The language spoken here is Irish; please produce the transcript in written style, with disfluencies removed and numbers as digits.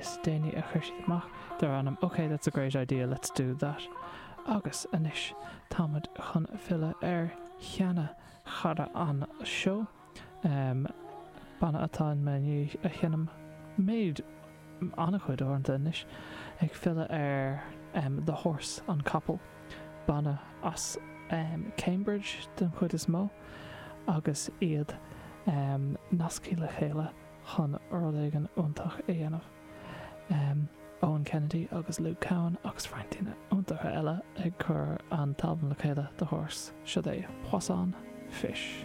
is déanaí a chuir siad amach, dar ainm OK That's a Great Idea, Let's Do That. Agus anois táimid chun filleadh ar sheana chara an seó, banna atá i ndiaidh a sheinm méid an-chuid uaireanta anois, ag filleadh ar The Horse, an capall, banna as Cambridge den chuid is mó, agus iad nasctha le chéile chun rud éigin iontach a dhéanamh. Owen Kennedy agus Luke Cowan agus roinnt daoine iontacha eile ag cur an t-albam le chéile, The Horse. Seo é Poisson Fish.